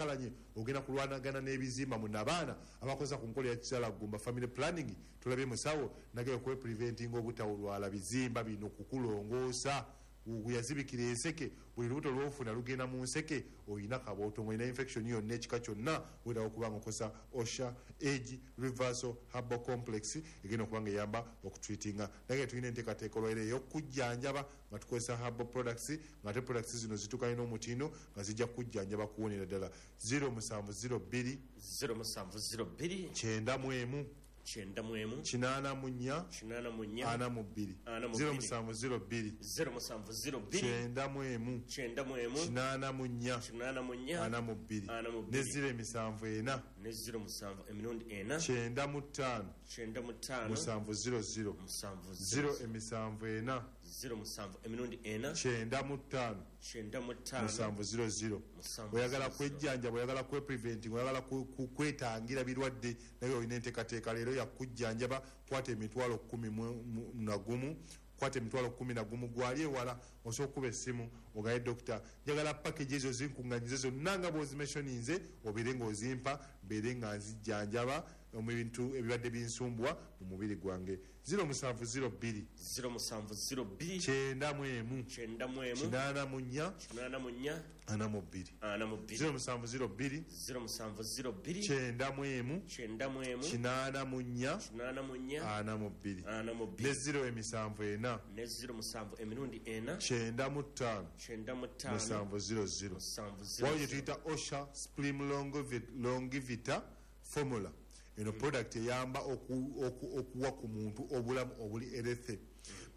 okyankalanye, ogenda kulwanagana n'ebizimba mu nabaana abakozesa ku nkola ya kizaala gumba family planning. Tulabye musawo nagenda kwepreventinga obutawulwala bizimba bino kukulongoosa. Yazibikira enseke, buli lubuto lwofuna lugenda mu nseke, oyina kabooto, olina infection yonna ekika kyonna, weetaaga okuba nga okozesa Osha Age Reversal Herbal Complex egenda okuba nga eyamba okutreatinga. Naye tulina enteekateeka olwaire ey'okujjanjaba nga tukozesa herbal products, nga ate products zino zituukanye n'omutindo nga zijja kujjanjaba kuwonera ddala. 0702 0702 91 91 84 84 42 0702 0702 91 91 84 84 42 42 ne 074 ne 07 emirundi 4 95 95 700 7 074 07 emirundi 4 95 95 700. Oyagala kwejjanjaba, oyagala kwepreventing, oyagala kwetangira birwadde, naye olina enteekateeka leero yakujjanjaba. Kwata 110,000, kwata 11,000. Gwali ewala osobola okuba essimu ogaye, "Dokita, njagala package ezo zinkuŋŋanyize zonna nga bw'ozimentioninze, obeere ng'ozimpa, mbeere nga nzijjanjaba mu bintu ebibadde binsumbwa mu mubiri gwange." 0702 0702 91 91 84 84 42 42 0702 0702 91 91 84 84 42 42 ne 074 ne 07 emirundi 4 95 95 700. 7 Waliwo gye tuyita Osha Splim Longivita Formula. Eno product eyamba okuwa ku muntu obulamu obuli healthy.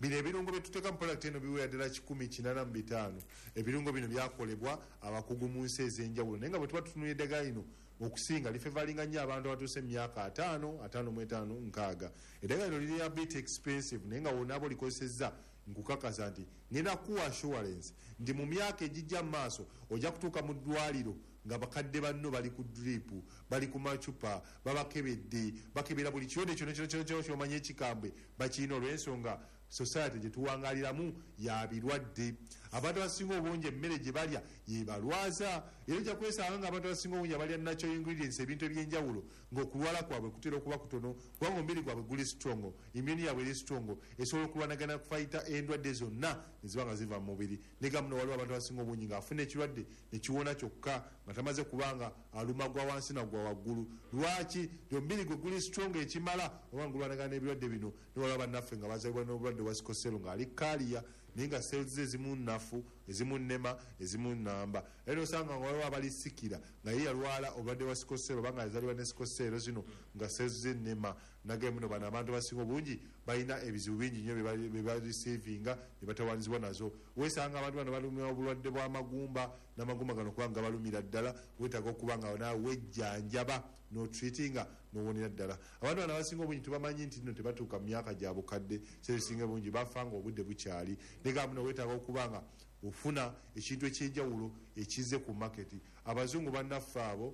Bino ebirungo byetuteeka mu product eno biwera ddala 185. Ebirungo bino byakolebwa abakugu mu nsi ez'enjawulo, naye nga bwe tuba tutunula eddagala lino, okusinga lifavouringa nnyo abantu abatuuse mu myaka 50, 55, 60. Eddagala lino liri a bit expensive, naye nga wonaaba olikozesezza, nkukakasa nti ngenda kuwa assurance nti mu myaka egijja mu maaso ojja kutuuka mu ddwaliro nga bakadde banno bali ku drip, bali ku macupa, babakebedde, bakebera buli kirwadde kyonna kyonna kyonna kyonna kyomanya ekikambwe bakirina, olw'ensonga society gye tuwangaliramu ya birwadde. Abantu abasinga obungi emmere gye balya yebalwaza, era ojja kwesanga nga abantu abasinga obungi abalya natural ingredients, ebintu ebyenjawulo, ng'okulwala kwabwe kutera okuba kutono, kubanga omubiri gwabwe guli strong, immune yabwe eri strong, esobola okulwanagana kufighta endwadde zonna neziba nga ziva mu mubiri. Nega muno waliwo abantu abasinga obungi ng'afuna ekirwadde nekiwona kyokka nga tamaze, kubanga aluma gwa wansi nagwa waggulu. Lwaki? Omubiri gwe guli strong ekimala oba nga gulwanagana n'ebirwadde bino. Newaliwo bannaffe nga bazalibwa n'obulwadde bwa sickle cell, ng'ali carrier, naye nga cells ze ezimu nnafu, ezimu nnema, ezimu nnamba. Era osanga nga waliwo abalisikira nga ye yalwala obulwadde bwa sickle cell oba nga yazalibwa ne sickle cell zino, nga cells ze nnema. Nagaye muno bano abantu abasinga obungi balina ebizibu bingi nnyo bye bareceivinga ne batawanizibwa nazo. Weesanga abantu bano balumira obulwadde bw'amagumba, n'amagumba gano kubanga gabalumira ddala, weetaaga okuba nga naawe wejjanjaba n'otreatinga n'owonera ddala. Abantu bano abasinga obungi tubamanyi nti nno tebatuuka mu myaka gya bukadde, sebisinga bungi bafa nga obudde bukyali. Naye muno weetaaga okuba nga ofuna ekintu ekyenjawulo ekizze ku market. Abazungu bannaffe abo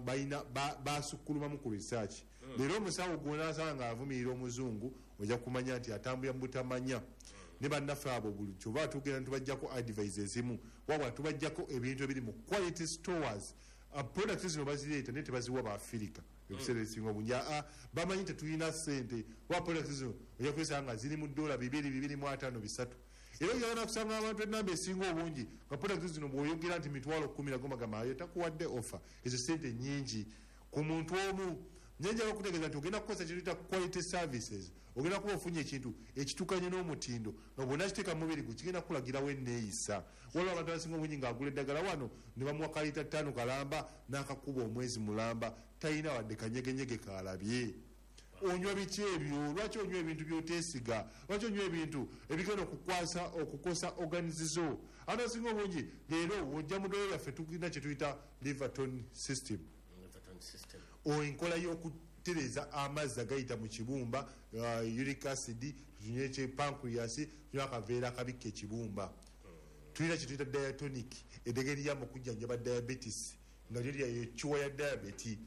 balina basukkulumamu ku research. Leero omusawo gwonasanga nga avumirira omuzungu, ojja kumanya nti atambulira mu butamanya. Ne bannaffe abo buli kyova tugenda ntubajjako advice ezimu, wabula tubajjako ebintu ebiri mu quality stores. Products zino bazireeta naye tebaziwa baafirika ebiseera ebisinga obungi. Aa, bamanyi tetulina ssente wa products zino. Ojja kwesanga nga ziri mu dola 2, 250, 3. Era ojagala kusanga abantu enamba esinga obungi nga products zino bw'oyogera nti 10,000, nagomagamba ayo takuwadde offer. Ezo sente nyingi ku muntu omu. Njenjala okutegeeza nti ogenda kukozesa kintu quality services, ogenda kuba ofunye ekintu ekitukanye n'omutindo nga bwonna kiteeka mu mubiri gwe kigenda kukulagirawo enneeyisa. Waliwo abantu abasinga obungi ng'agula eddagala wano ne bamuwa kalita 5 kalamba n'akakuba omwezi mulamba, talina wadde kanyegenyege kalabye. Onywa biki ebyo? Lwaki onywa ebintu byoteesiga? Lwaki onywa ebintu ebigenda okukwasa okukosa organs zo? Abantu abasinga obungi leero wojja mu ddwaliro lyaffe, tulina kye tuyita Liverton system. Liverton system. Enkola y'okutereeza amazzi agayita mu kibumba, uric acid, tunywe pancreas, tunywe akaveera akabikka ekibumba. Tulina kye tuyita diatonic, eddagala eriyamba okujjanjaba diabetes, nga lyo lya cure ya diabetes.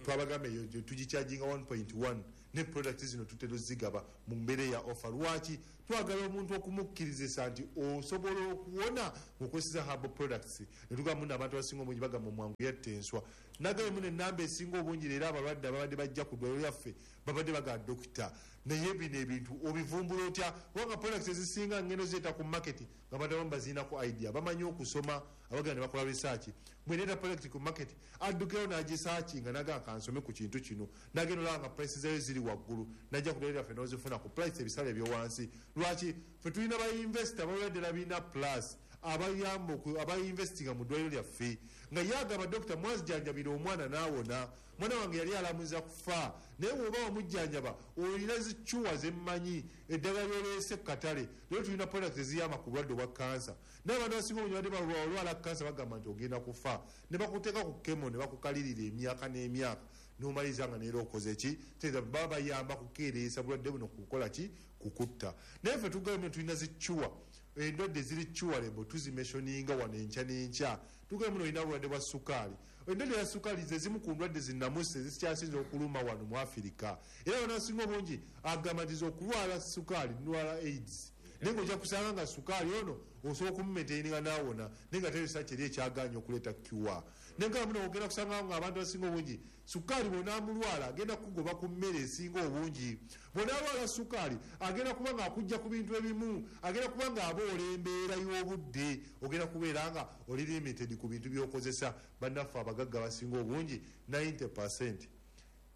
Twabagamba eyo tugicharginga 1.1, ne product zino tutera ozigaba mu mbeera ya offer. Lwaki? Twagala omuntu okumukkirizisa nti osobola okuwona ng'okozesa herbal products. Ne tugamba muno abantu abasinga obungi bagamba omwangu yatta enswa. Nagambye muno ennamba esinga obungi leero abalwadde ababadde bajja ku ddwaliro lyaffe babadde bagamba dokita, naye bino ebintu obivumbula otya? Kubanga products ezisinga ngendo zireeta ku market nga abantu abamu bazirinako idea, bamanyi okusoma, abagenda ne bakola research. Bwe ndeeta product ku market addukirayo n'agisearchinga n'agamba kansome ku kintu kino, n'agenda olaba nga price zaayo ziri waggulu, n'ajja ku ddwaliro lyaffe n'ozifuna ku price ebisale ebyowansi. Lwaki? Ffe tulina ba investor abalwadde ddala birina plus abayamba abainvestinga mu ddwaliro lyaffe, nga ye agamba dokita mwazijanjabira omwana n'awona, mwana wange yali alamuza kufa, naye bw'oba wamujjanjaba olina zicuwa zemmanyi eddagala lyoleese ku katale. Leero tulina product eziyamba ku bulwadde obwa kansa, naye abantu abasinga obungi badde balwala kansa bagamba nti ogenda kufa, ne bakuteeka ku chemo ne bakukalirira emyaka n'emyaka n'omaliriza nga neera okoze ki? Tegeeza baba bayamba kukeereesa bulwadde buno kukola ki? Kukutta. Naye ffe tugambye tulina zicuwa, endwadde ziri curable tuzimentioninga wano enkya n'enkya. Tugambye muno olina obulwadde bwa sukaali, endwadde ya sukaali ze zimu ku ndwadde zinnamusi ezikyasinze okuluma wano mu Afirika, era abantu abasinga obungi agamba nti okulwala sukaali ndwala AIDS, naye ng'ojja kusanga nga sukaali ono osobola okumumaintaininga n'awona, naye nga teresa kyeri ekyagaanye okuleeta cure. Naye nga muno ogenda kusanga nga abantu abasinga obungi sukaali bw'onaamulwala agenda kukugoba ku mmere esinga obungi, bw'onaalwala sukaali agenda kuba nga akujja ku bintu ebimu, agenda kuba nga aboola embeera y'obudde, ogenda kubeera nga oli limited ku bintu by'okozesa. Bannaffe abagagga abasinga obungi 90%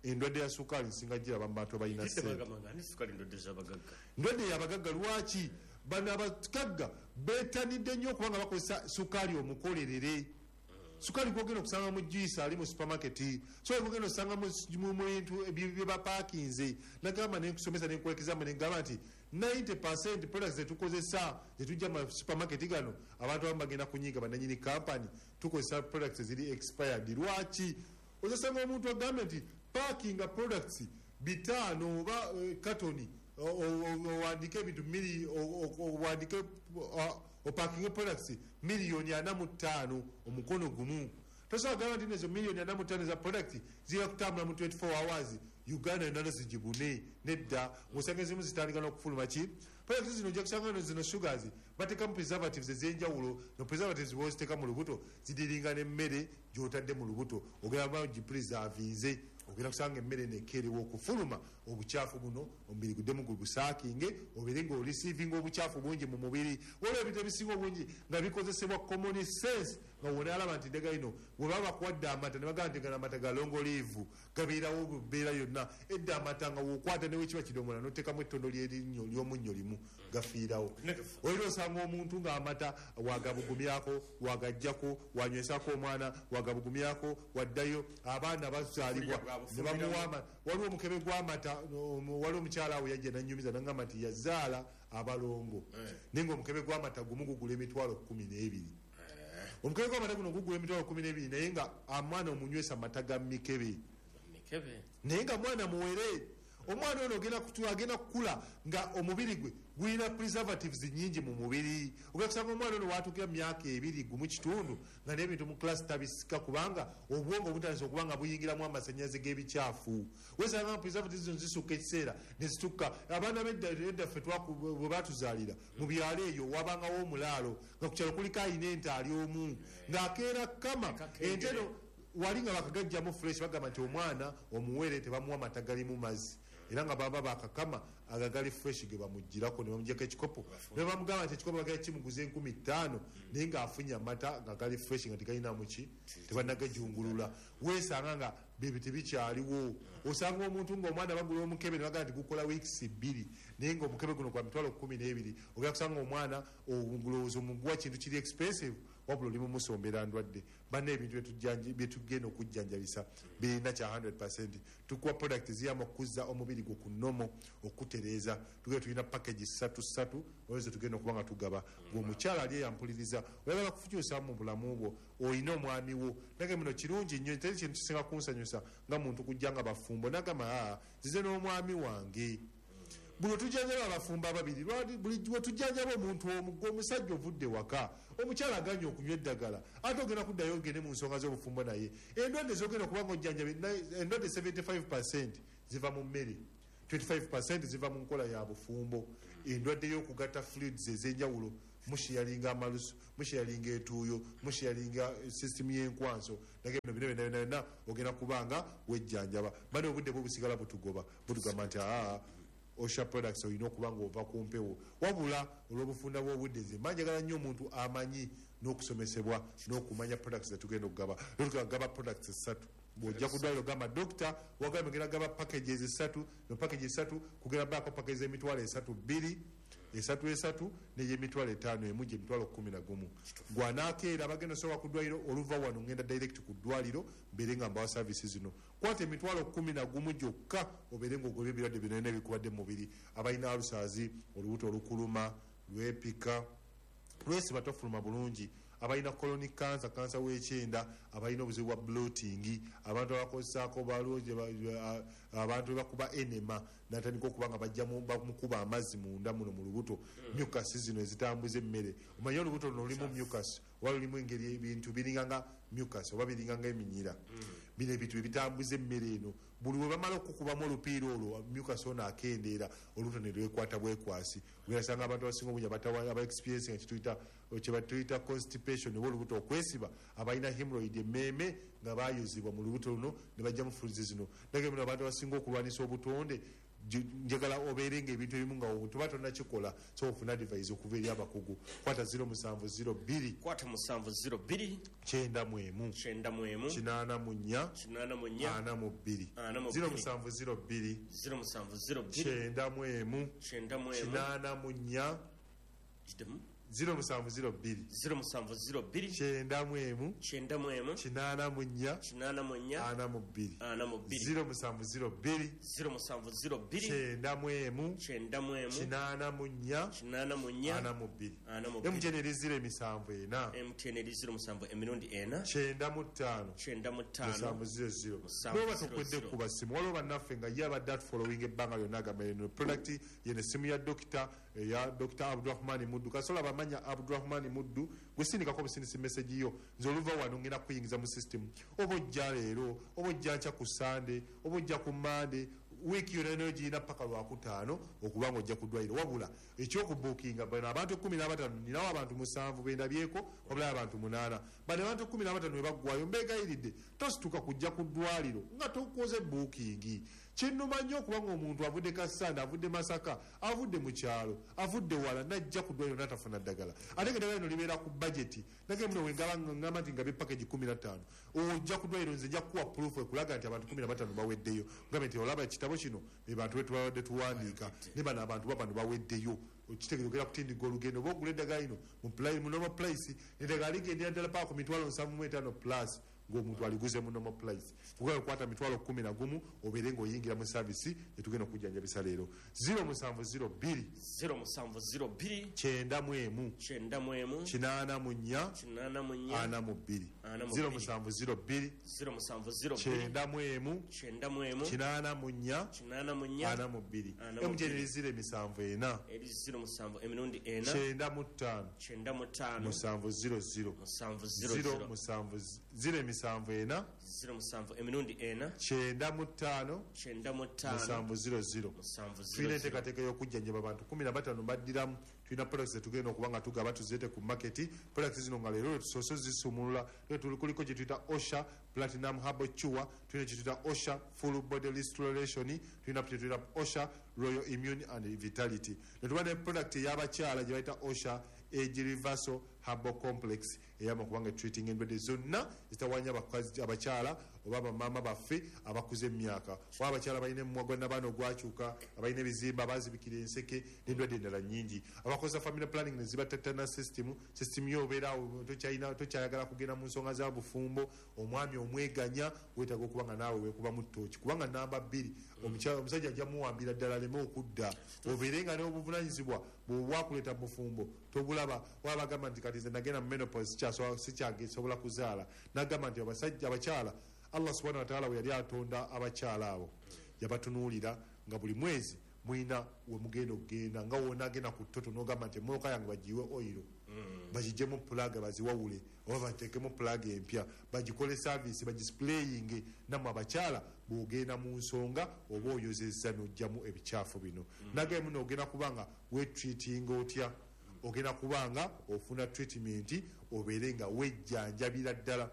endwadde ya sukaali nsinga giraba mu bantu abalina Kidde ssente. Bagamba nga ani sukaali ndwadde z'abagagga? Ndwadde yabagagga. Lwaki? Bano abagagga beetanidde nnyo okuba nga bakozesa sukaali omukolerere, sukaali gwogenda okusanga mu juice ali mu supermarket, sukaali gwogenda osanga mu bintu bye bapaakinze. Nagamba nenkusomesa nenkwekizambe nengamba nti 90% products zetukozesa zetujja mu supermarket gano, abantu abamu bagenda kunyiiga bannanyini company, tukozesa products eziri expired. Lwaki? Ozasanga omuntu agambe nti packinga products 500 oba katoni owandike ebintu owandike opakinge products 45 miliyoni omukono gumu. Tosobola gamba nti nezo 45 miliyoni za product zigenda kutambula mu 24 hours Uganda yonna zigibune. Nedda, ng'osanga ezimu zitandika n'okufuluma ki product zino. Ojja kusanga zino sugars bateekamu preservatives ez'enjawulo, no preservatives bwoziteeka mu lubuto zidiringa n'emmere gy'otadde mu lubuto, ogenda ba gipreservinze, ogenda kusanga emmere nekeerewa okufuluma obukyafu buno, omubiri guddemu gubusaakinge, obeere ng'oreceivinga obukyafu bungi mu mubiri. Waliwo ebintu ebisinga obungi nga bikozesebwa common sense, nga wonaalaba nti eddagala lino bwe baba bakuwadde amata ne bagamba nti gano amata ga long live, gabeerawo bubeera yonna. Edda amata nga wokwata newe kiba kidomola n'oteekamu ettondo ly'erinnyo ly'omunnyo limu, gafiirawo. Olina osanga omuntu ng'amata wagabugumyako, wagajjako, wanywesako omwana, wagabugumyako, waddayo abaana bazaalibwa ne bamuwa amata. Waliwo omukebe gw'amata, waliwo omukyala awo yajja nanyumiza nagamba nti yazaala abalongo, naye nga omukebe gw'amata gumu gugula 120,000. Omukebe gw'amata guno gugula 12,000, naye nga omwana omunywesa mata ga mikebe. Mikebe. Naye nga mwana muwere, omwana ono ogenda agenda kukula nga omubiri gwe gulina preservatives nyingi mu mubiri. Ogenda kusanga omwana ono watuukira mu myaka 2 1.5 nga n'ebintu mu class tabisika, kubanga obwongo butandise okuba nga buyingiramu amasannyalaze g'ebikyafu. Wesanga nga preservatives zino zisukka ekiseera ne zitukka. Abaana b'edda edda ffe bwe batuzaalira mu byalo eyo, wabangawo omulaalo nga ku kyalo kuliko ayina ente ali omu ng'akeera kama ente eno wali nga bakagajjamu fresh. Bagamba nti omwana omuwere tebamuwa mata galimu mazzi, era nga baba bakakama agagali fresh ge bamugirako ne bamugjako ekikopo ne bamugamba nti ekikopo bagala kimuguza 5,000, naye ng'afunye amata nga gali fresh nga tegalinamu ki, tebanagajungulula. Weesanga nga bebyo tebikyaliwo. Osanga omuntu ng'omwana bagula omukebe ne bagamba nti gukola weeks 2, naye ng'omukebe guno gwa 12,000. Ogenda kusanga omwana olowooza omuguwa kintu kiri expensive, wabula oli mumusombera ndwadde. Banna, ebintu byetugenda okujjanjabisa birina kya 100. Tukuwa product eziyamba okuzza omubiri gwo ku normal, okutereeza. Tugenda tulina package ssatu ssatu olwo tugenda okuba nga tugaba. Gwe omukyala ali eyampuliriza, oyagala kufukyusa mu bulamu bwo, olina omwami wo, nage muno kirungi nnyo. Teri kintu kisinga kunsanyusa nga muntu kujja nga bafumbo nagamba, aa zize n'omwami wange. Buli wetujjanjaba abafumbo ababiri, buli wetujjanjaba omuntu omu, gwe omusajja ovudde waka, omukyala aganye okunywa eddagala, ate ogenda kuddayo ogende mu nsonga z'obufumbo, naye endwadde zogenda okuba nga ojjanjaba, endwadde 75 ziva mu mmere. 25% ziva mu nkola ya bufumbo. Endwadde y'okugatta fluids ez'enjawulo, musharinga amalusu, musharinga etuuyo, musharinga system y'enkwanso, naye bino bino byonna byonna ogenda kubanga wejjanjaba. Bano obudde bwo busigala butugoba, butugamba nti aa Osha products olina okuba nga ova ku mpewo. Wabula olw'obufunda bw'obudde, nze mba njagala nnyo omuntu amanyi n'okusomesebwa n'okumanya products zetugenda okugaba. Tugaba products 3. Bw'ojja ku ddwaliro ogamba dokita, wagambye ogenda kugaba packages 3, no package 3 kugenda baako package emitwalo 3 2, 3 3 n'eyemitwalo 5 emu gye mitwalo 11. Gw'anaakeera abagenda osobola ku ddwaliro, oluva wano ngenda direct ku ddwaliro mbeere nga mbawa services zino. Kwata emitwalo 11 gyokka obeere ng'ogobye ebirwadde byonna ebikubadde mu mubiri. Abalina alusazi, olubuto olukuluma, lwepika, lwesiba tofuluma bulungi, abalina colonic cancer, kansa w'ekyenda, abalina obuzibu bwa bloating, abantu abakozesaako balungi, abantu bakuba enema natandika okuba nga bajjamu bamukuba amazzi munda muno mu lubuto, mucus zino ezitambuza emmere. Omanyi olubuto luno lulimu mucus, oba lulimu engeri ebintu biringa nga mucus oba biringa nga eminyira. Bino ebintu ebitambuza emmere eno, buli we bamala okukubamu olupiira olwo, mucus ono akendeera, olubuto ne lwekwata bwekwasi. Ogasanga abantu abasinga obungi aba experience nga kye batuyita constipation oba olubuto okwesiba, abalina hemorrhoid emmeeme nga bayuzibwa mu lubuto luno ne bajjamu fluids zino. Naye bino abantu abasinga okulwanisa obutonde, njagala obeere nga ebintu ebimu nga tuba tonnakikola, so ofuna advice okuva eri abakugu. Kwata 0702, kwata 702, 91, 91, 84, 84, 42, 42, 0702, 0702, 91, 91, 84, Kidemu. 0702, 0702, 91, 91, 84, 84, 42, 42, 0702, 0702, 91, 91, 84, 84, 42. 42. MTN eri 074, MTN eri 07 emirundi 4, 95, 95, 700. 700. N'oba tokwedde kuba simu, waliwo bannaffe nga ye abadde atufollowinga ebbanga lyonna, agamba eno product yeno essimu ya dokita, eya Dr. Abdurahman Muddu. Kasola bamanya Abdurahman Muddu, gwe sindikako busindisi message yo, nze oluva wano ngenda kuyingiza mu system. Oba ojja leero, oba ojja nkya ku Sunday, oba ojja ku Monday, wiiki yonna nayo girina paka Lwakutaano okuba nga ojja ku ddwaliro. Wabula ekyokubuukinga bano abantu 15, ninawo abantu 7 bendabyeko, wabula abantu 8. Bano abantu 15 bwe baggwayo, mbeegayiridde tosituka kujja ku ddwaliro nga tokoze buukingi. Kinnuma nnyo okuba ng'omuntu avudde Kassanda, avudde Masaka, avudde mu kyalo, avudde wala, n'ajja ku ddwaliro n'atafuna ddagala. Ate nga eddagala lino libeera ku budget. Naye muno we ngaba ngamba nti ngabye package 15, ojja ku ddwaliro nze nja kukuwa proof ekulaga nti abantu 15 baweddeyo. Ngambe nti olaba ekitabo kino, be bantu be tubadde tuwandiika, ne bano abantu babano baweddeyo. Okitegeera ogenda kutindigga olugendo, oba ogula eddagala lino mu normal price, eddagala ligendera ddala paka ku mitwalo 75 plus ng'omuntu aliguze mu normal price. Kugala okukwata mitwalo 11 obeere ng'oyingira mu service etugenda okujjanjabisa leero. 0702, 0702, 91, 91, 84, 84, 42, 42, 0702, 0702, 91, 91, 84, 84, 42. 42. MTN eri 074, eri 07 emirundi 4, 95, 95, 700, 700, 0 074, 07 emirundi 4, 95, 95, 700. 700. Tulina enteekateeka y'okujjanjaba abantu 15 baddiramu. Tulina products zetugenda okuba nga tugaba tuzireete ku market. Products zino nga leero tusoose zisumulula. Leero kuliko kye tuyita Osha Platinum Herbal Cure, tulina kye tuyita Osha Full Body Restoration, tulina kye tuyita Osha Royal Immune and Vitality. Ne tuba ne product ey'abakyala gye bayita Osha Age Reversal Herbal Complex, eyamba kubanga treating endwadde zonna zitawanya abakyala oba bamaama baffe abakuze emyaka, oba abakyala balina emimwa gwa nabaana ogwakyuka, abalina ebizimba, abazibikira enseke n'endwadde endala nnyingi, abakozesa family planning ne zibatatana system yo obeera awo tokyayagala kugenda mu nsonga za bufumbo, omwami omweganya, weetaaga okuba nga naawe weekubamu ttooki, kubanga namba 2 omusajja ajja muwambira ddala aleme okudda, obeere nga n'obuvunaanyizibwa bw'obwakuleeta mu bufumbo tobulaba. Waba bagamba nti kati nze nagenda mu menopause sikyasobola kuzaala, n'agamba nti abasajja abakyala Allah subhanahu wa ta'ala bwe yali atonda abakyala abo yabatunuulira nga buli mwezi mulina we mugenda okugenda, nga wonna agenda ku ttoto n'ogamba nti emmotoka yange bagiwe oyiro, Bagijjemu plug, baziwawule oba bateekemu plug empya, bagikole service, bagisprayinge. Nammwe abakyala, bw'ogenda mu nsonga oba oyozezza n'oggyamu ebikyafu bino, nagaye muno ogenda kubanga wetreatinga otya? Ogenda kubanga ofuna treatment, obeere nga wejjanjabira ddala.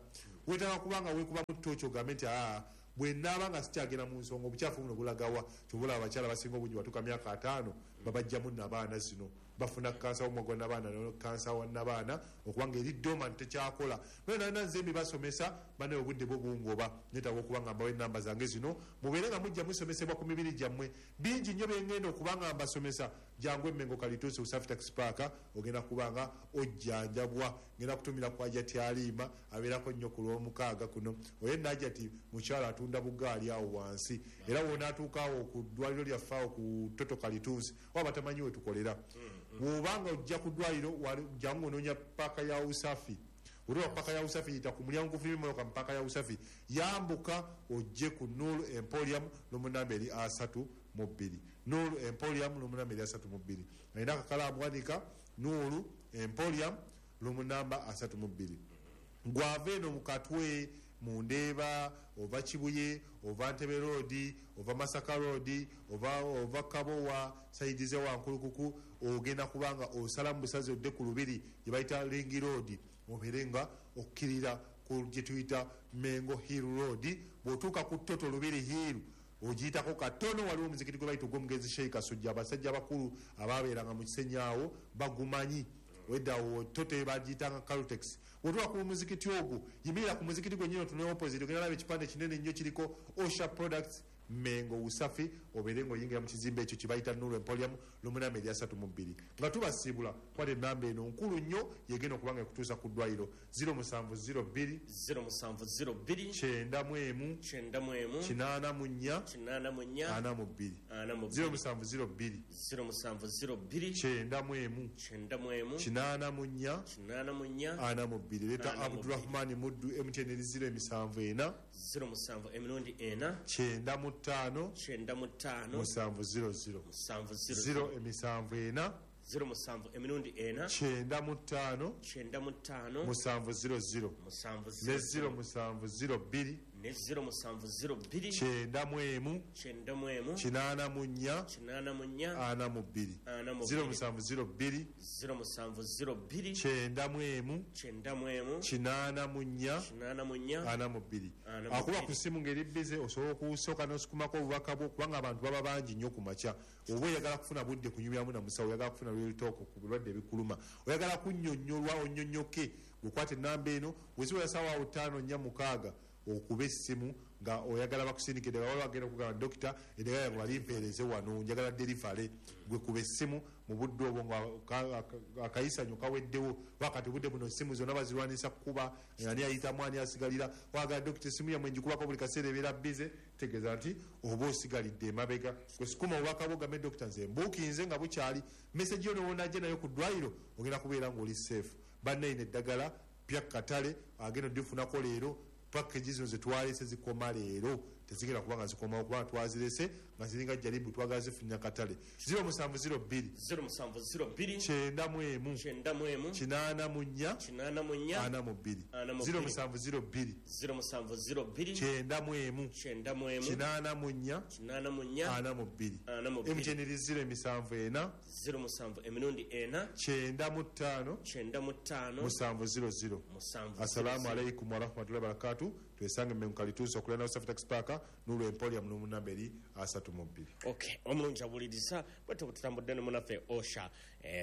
Wetaaga kubanga weekubamu tooki, ogambe nti, "Aa, bwe naaba nga sikyagenda mu nsonga, obukyafu buno bulagawa?" Kyobula abakyala basinga obungi batuuka myaka 50 babajjamu nabaana zino, bafuna kansa w'omumwa gwa nabaana, kansa wa nabaana okubanga eri dormant, tekyakola. Nana nze mbibasomesa bane, obudde bwo bungoba, netaaga okuba nga mbawa enamba zange zino, mubeere nga mujja musomesebwa ku mibiri gyammwe. Bingi nnyo byengenda okuba nga mbasomesa. Jangu Emmengo, Kalituusi, Usafi Taxi Park, ogenda kuba nga ojjanjabwa. Ngenda kutumira ku Ajati Aliima, abeerako nnyo ku Lwomukaaga kuno. Oye Najati mukyala atunda bugaali awo wansi, era wonaatuuka awo ku ddwaliro lyaffe awo ku Toto Kalituusi, oba batamanyi we tukolera. Bw'obanga ojja ku ddwaliro, jangu onoonya paaka ya Usafi. Olwa paka ya Usafi, yita ku mulyango gufuluma emmotoka mu paaka ya Usafi, yambuka ojje ku Nuru Emporium, n'omunamba eri 32. Nuru Emporium, n'omunamba eri 32. Alina akakalaamu, wanika Nuru Emporium, n'omunamba 32. Gwava eno mu Katwe, mu Ndeeba, ova Kibuye, ova Ntebe Road, ova Masaka Road, ova Kabowa, side ze Wankulukuku, ogenda kubanga osala mu busazi odde ku Lubiri gye bayita Ring Road, obeere nga okkirira ku gye tuyita Mengo Hill Road. Bw'otuuka ku Toto Lubiri Hill, ogiyitako katono, waliwo omuzikiti gwe bayita ogw'omugenzi Sheikh Kasujja. Abasajja abakulu ababeeranga mu Kisenyi awo bagumanyi. Weddawo Toto bagiyitanga Caltex. Bw'otuuka ku muzikiti ogwo, yimirira ku muzikiti gwennyini, otunule opposite, ogenda laba ekipande kinene nnyo kiriko Osha Products Mengo Usafi, obeere ng'oyingira mu kizimbe ekyo kibayita Nuru Emporium, lumunamba eri 32. Nga tubasiibula, kwata enamba eno nkulu nnyo, yegenda okuba nga ekutuusa ku ddwaliro: 0702 0702 91 91 84 84 42. 42. 0702 0702 91 91 84 84 42. Leeta 42. Abdurahmani Muddu, MTN eri 074 07 emirundi 4 95 95 700. 7 074 07 emirundi 4 95 95 700 7 ne 0702 ne 0702 91 91 84 84 42. 42. 0702 0702 91 91 84 84 42. 42. Akuba ku ssimu ng'eri busy, osobola okusooka n'osukumako obubaka bwo, kubanga abantu baba bangi nnyo ku makya. Oba oyagala kufuna budde kunyumyamu na musawo, oyagala kufuna real talk ku birwadde ebikuluma, oyagala kunnyonnyolwa onnyonnyoke, gwekwata enamba eno. Weziwera saawa awo 5, 4, 6, okuba essimu nga oyagala bakusindika eddagala, waliwo agenda okugamba, "Dokita, eddagala yange balimpeereze wano, njagala delivery." Gwe kuba essimu mu budde obwo nga akayisanyo kaweddewo. Wakati obudde buno essimu zonna bazirwanisa kukuba, ani ayitamu, ani asigalira. Wagala, "Dokita, essimu yammwe ngikubako buli kaseera ebeera busy," tegeeza nti oba osigalidde emabega. Gwe sukuma obubaka bwo, gambe, "Dokita, nze mbuukinze nga bukyali." Message yo nowonajja nayo ku ddwaliro, ogenda kubeera ng'oli safe. Bannayina eddagala pya katale, agenda odifunako leero. Package zino zetwalese zikoma leero, tezigenda kuba nga zikomawo, kubanga twazirese nga ziringa jaribu, twagala zifunya katale. 0702 0702 91 91 84 84 42. 42. 0702 0702 91 91 84 84 42. 42. MTN eri 074 07 emirundi 4 95 95 700. 7 Assalamu alaikum warahmatullahi wabarakatu. Twesange Mmengo, Kalituusi, okulana Usafi Taxi Park, Nuru Emporium, n'omunamba eri 32. Okay, omulungi awuliriza, bwetyo bwe tutambudde ne munaffe Osha.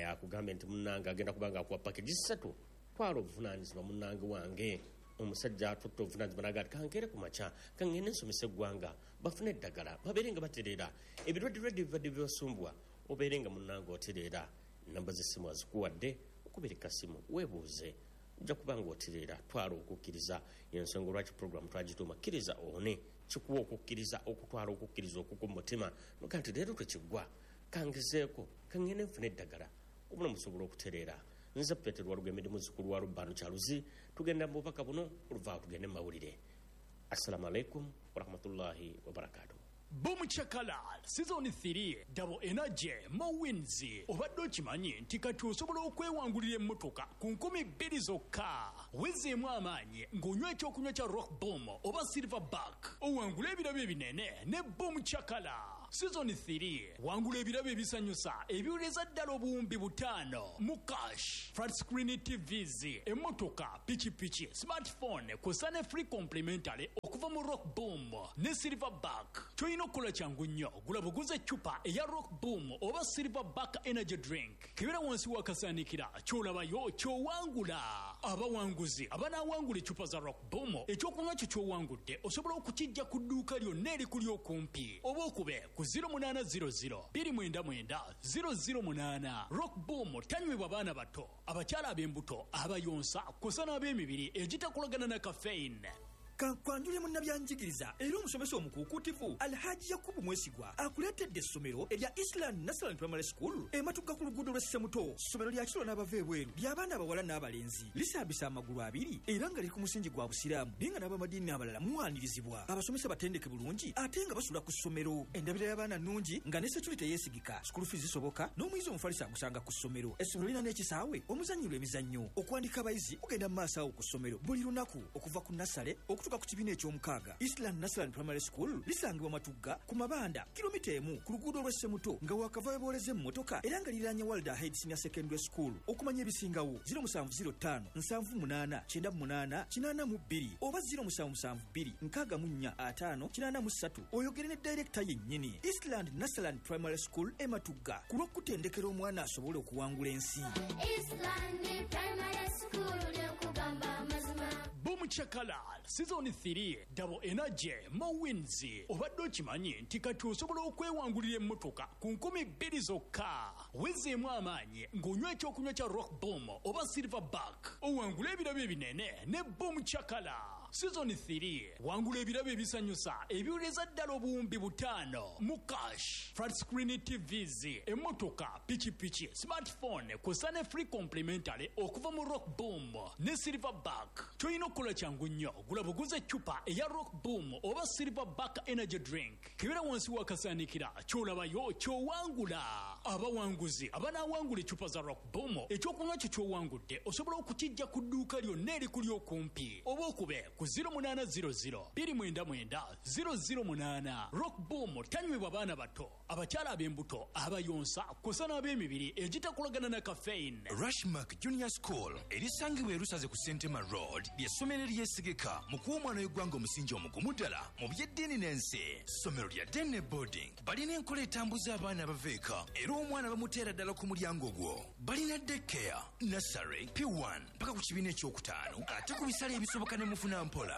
Akugambye nti munnange agenda kubanga akuwa package ssatu. Twala obuvunaanyizibwa, munnange wange. Omusajja atutte obuvunaanyizibwa naga ati, "Kankere ku makya, kaŋŋende nsomesa eggwanga bafune eddagala, babeere nga batereera ebirwadde bibadde bibasumbwa, obeere nga munnange otereera." Namba z'essimu azikuwadde, okubirika simu weebuuze, ojja kuba nga otereera. Twala okukkiriza, yensonga lwaki programu twagituuma Kkiriza Owone. Kikuwa okukkiriza, okutwala okukkiriza okuku mu mutima noga nti, "Leero tekiggwa, kangezeeko, kaŋŋende nfune eddagala," obulamu busobola okutereera. Nze Petero Walugemedde, muzzukulu wa Lubbano Kyaluzi. Tugenda mu bubaka buno, oluvaawo tugende mu mawulire. Assalamu alaikum warahmatullahi wabarakatuh. Boom Chakala Season 3 Double Energy Mo Wins. Obadde okimanyi nti kati osobola okwewangulira emmotoka ku 2000 zokka? Wezeemu amaanyi ng'onywa ekyokunywa kya Rock Boom oba Silverback, owangula ebirabo ebinene ne Boom Chakala Season 3. Wangula ebirabo ebisanyusa ebiwereza ddala 5000 mu cash, flat screen TVs, emmotoka, pikipiki, smartphone kw'ossa ne free complimentary okuva mu Rock Boom ne Silverback. Ky'olina okukola kyangu nnyo, gula buguza eccupa eya Rock Boom oba Silverback energy drink, kebera wansi w'akasaanikira, ky'olabayo ky'owangula. Abawanguzi abanaawangula eccupa za Rock Boom, ekyokunywa kyo ky'owangudde osobola okukijja ku dduuka lyonna erikuli okumpi oba okube ku 0800 299 008. Rock Boom tanywebwa baana bato, abakyala ab'embuto, abayonsa kw'ossa n'ab'emibiri egitakolagana na caffeine. Kankwanjule munnabyanjigiriza era omusomesa omukuukuutivu Alhaji Yakubu Mwesigwa akuleetedde essomero erya Island National Primary School ematuga ku luguudo lw'e Ssemuto. Ssomero lya kiro n'abava ebweru, ly'abaana abawala n'abalenzi, lisambisa amagulu abiri era nga liri ku musingi gwa Busiraamu, naye nga n'abamadiini abalala muwanirizibwa. Abasomesa batendeke bulungi ate nga basula ku ssomero. Endabira y'abaana nnungi nga ne security yeesigika. School fees zisoboka n'omuyizi omufalisi agusanga ku ssomero. Essomero lirina n'ekisaawe omuzannyirwa emizannyo. Okuwandika abayizi kugenda mu maaso awo ku ssomero buli lunaku okuva ku nursery okutuuka ku kibiina eky'omukaaga. Island National Primary School lisangibwa Matugga ku Mabanda, kilomita 1 ku luguudo lw'e Ssemuto nga wakava webooleza emmotoka, era nga liriraanye World Ahead Senior Secondary School. Okumanya ebisingawo, 0705 78 98 82 oba 0772 64 5 83, oyogere ne director yennyini. Eastland National Primary School e Matugga, ku lw'okutendekera omwana asobole okuwangula ensi. Eastland Primary School, lyokugamba amazima. Boom Chakala Season 3 Double Energy Mo Wins. Obadde okimanyi nti kati osobola okwewangulira emmotoka ku 2000 zokka? Wezeemu amaanyi ng'onywa ekyokunywa kya Rock Boom oba Silverback, owangula ebirabo ebinene ne Boom Chakala Season 3. Wangula ebirabo ebisanyusa ebiwereza ddala 5000 mu cash, flat screen TVs, emmotoka, pikipiki, smartphone kw'ossa ne free complimentary okuva mu Rock Boom ne Silverback. Ky'olina okukola kyangu nnyo, gula buguza eccupa eya Rock Boom oba Silverback energy drink, kebera wansi w'akasaanikira, ky'olabayo ky'owangula. Abawanguzi abanaawangula eccupa za Rock Boom, ekyokunywa kyo ky'owangudde osobola okukijja ku dduuka lyonna erikuli okumpi oba okube ku 0800 299 008. Rock Boom tanywebwa baana bato, abakyala ab'embuto, abayonsa kw'ossa n'ab'emibiri egitakolagana na caffeine. Rushmark Junior School erisangibwa e Lusaze ku Sentema Road ly'essomero eryesigika mu kuwa omwana w'eggwanga omusingi omugumu ddala mu by'eddiini n'ensi. Ssomero lya day ne boarding, balina enkola etambuza abaana abava eka era omwana bamuteera ddala ku mulyango gwo. Balina daycare, nursery, P1 paka ku kibiina ekyokutaano, ate ku bisale ebisoboka ne mufuna mpola.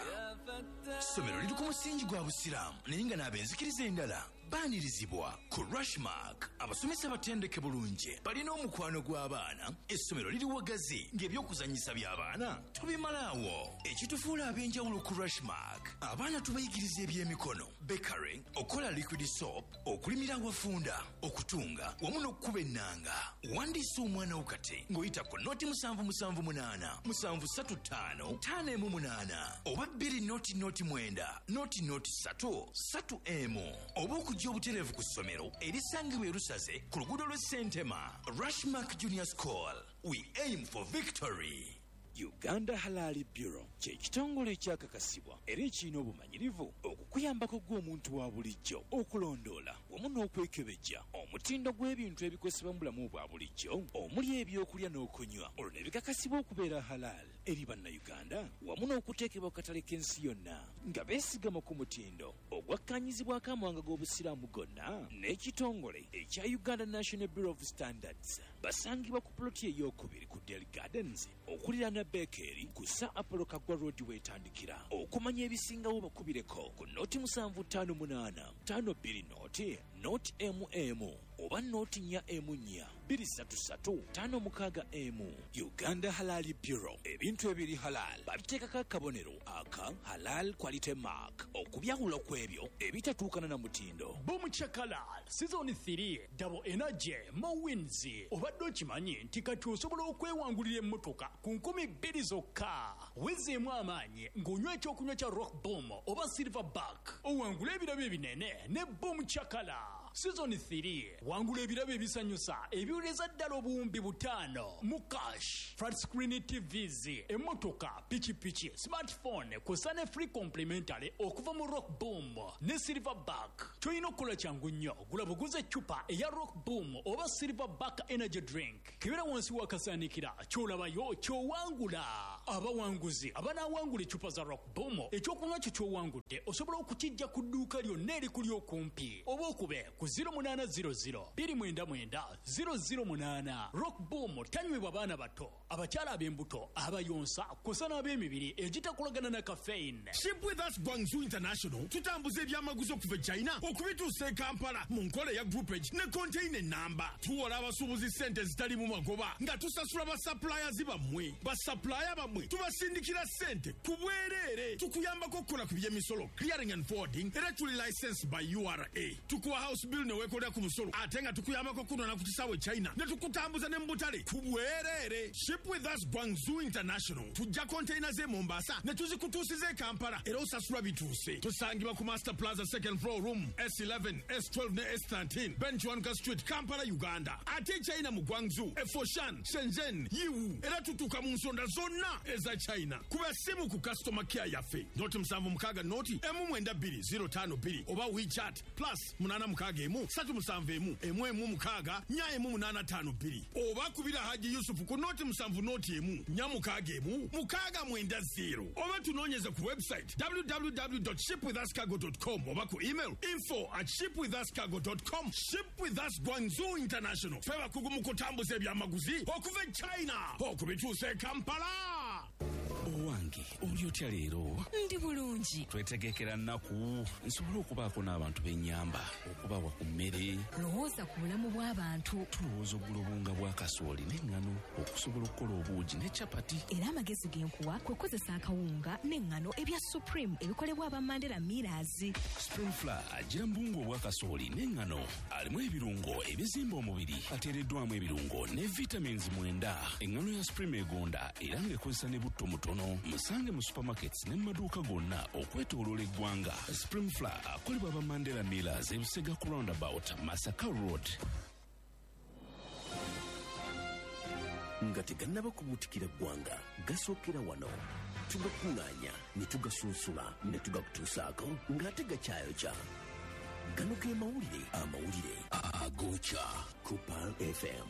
Ssomero liri ku musingi gwa Busiraamu naye nga n'ab'enzikiriza endala baanirizibwa. Ku Rushmark abasomesa batendeke bulungi, balina omukwano gw'abaana. Essomero liri wagazi ng'ebyokuzannyisa by'abaana tubimalaawo. Ekitufuula ab'enjawulo ku Rushmark, abaana tubayigiriza ebyemikono, bakery, okukola liquid soap, okulimira awafunda, okutunga wamu n'okukuba ennanga. Wandiisa omwana wo kati ng'oyita ku 077 8 735 518 oba 2 0 0 9 0 0 3 3 emu oba okujja obutereevu ku ssomero erisangibwa e Lusaze ku luguudo lw'e Sentema. Rushmark Junior School, we aim for victory. Uganda Halal Bureau kye kitongole ekyakakasibwa era ekirina obumanyirivu okukuyambako gw'omuntu wa bulijjo okulondoola wamu n'okwekebejja omutindo gw'ebintu ebikozesebwa mu bulamu bwa bulijjo omuli ebyokulya n'okunywa, olwo ne bikakasibwa okubeera halal eri Bannayuganda wamu n'okuteekebwa ku katale k'ensi yonna nga beesigama ku mutindo ogwakkanyizibwako amawanga g'Obusiraamu gonna n'ekitongole ekya Uganda National Bureau of Standards. Basangibwa ku puloti eyokubiri ku Del Gardens okuliraana Bekeri ku Sir Apollo Kaggwa Road weetandikira. Okumanya ebisingawo bakubireko ku 0758 52 0 0 mm. oba 0 4 4 2 3 3 5 6 1. Uganda Halal Bureau, ebintu ebiri halal babiteekako akabonero aka Halal Quality Mark okubyawula ku ebyo ebitatuukana na mutindo. Boom Chakala Season 3 Double Energy Mo Wins. Obadde okimanyi nti kati osobola okwewangulira emmotoka ku 2000 zokka. Wezeemu amaanyi ng'onywa ekyokunywa kya Rock Boom oba Silverback, owangula ebirabo ebinene ne Boom Chakala Season 3. Wangula ebirabo ebisanyusa ebiwuleza ddala obuwumbi 5 mu cash, flat screen TVs, emmotoka, pikipiki, smartphone kw'ossa ne free complimentary okuva mu Rock Boom ne Silverback. Ky'olina okukola kyangu nnyo, gula buguze eccupa eya Rock Boom oba Silverback energy drink, kebera wansi w'akasaanikira, ky'olabayo ky'owangula. Abawanguzi abanaawangula eccupa za Rock Boom, ekyokunywa kyo ky'owangudde osobola okukijja ku dduuka lyonna erikuli okumpi oba okube ku 0800 299 008. Rock Boom tanywebwa baana bato, abakyala ab'embuto, abayonsa kw'ossa n'ab'emibiri egitakolagana na caffeine. Ship With Us Guangzhou International tutambuza ebyamaguzi okuva e China okubituusa e Kampala mu nkola eya groupage ne container namba. Tuwola abasuubuzi ssente ezitalimu magoba nga tusasula basuppliers bammwe. Basupplier bammwe tubasindikira ssente ku bwereere. Tukuyambako okukola ku by'emisolo, clearing and forwarding, era tuli licensed by URA. Tukuwa house bill ne weekolera ku musolo, ate nga tukuyambako okunona ku kisaawe e China ne tukutambuza ne mu butale ku bwereere. Ship With Us Guangzhou International tujja container z'e Mombasa ne tuzikutuusiza e Kampala era osasula bituuse. Tusangibwa ku Master Plaza second floor room S11, S12 ne S13, Ben Kiwanuka Street, Kampala, Uganda. Ate e China mu Guangzhou, e Foshan, Shenzhen, Yiwu, era tutuuka mu nsonda zonna eza China. Kuba essimu ku customer care yaffe 076 0 192 052 oba WeChat plus 861 371 116 41852 oba kubira Haji Yusufu ku 0 7 0 1 4 6 6 90 oba tunoonyeze ku website www.shipwithuscargo.com oba ku email info@shipwithuscargo.com. Ship With Us Guangzhou International, ffe bakugu mu kutambuza ebyamaguzi okuva e China okubituusa e Kampala. Owange, oli otya leero? Ndi bulungi. Twetegekera nnaku nsobole okubaako n'abantu b'ennyamba, okubawa ku mmere. Lowooza ku bulamu bw'abantu. Tulowooza okugula obuwunga bwa kasooli n'eŋŋano okusobola okukola obuugi ne capati. Era amagezi ge nkuwa kwe kukozesa akawunga n'eŋŋano ebya Supreme ebikolebwa aba Mandela Millers. Supreme Flour agira mu buwunga obwa kasooli n'eŋŋano, alimu ebirungo ebizimba omubiri, ateereddwamu ebirungo ne vitamins 9. Eŋŋano ya Supreme egonda era ng'ekozesa ne butto mutono. Musange mu supermarkets ne mu maduuka gonna okwetooloola eggwanga. Supreme Flour akolebwa aba Mandela Millers, ebisega ku roundabout Masaka Road. Nga tegannaba kubuutikira ggwanga, gasookera wano. Tugakuŋŋaanya ne tugasunsula ne tugakutuusaako ng'ate gakyayokya. Gano ge mawulire, amawulire agokya ku Pearl FM.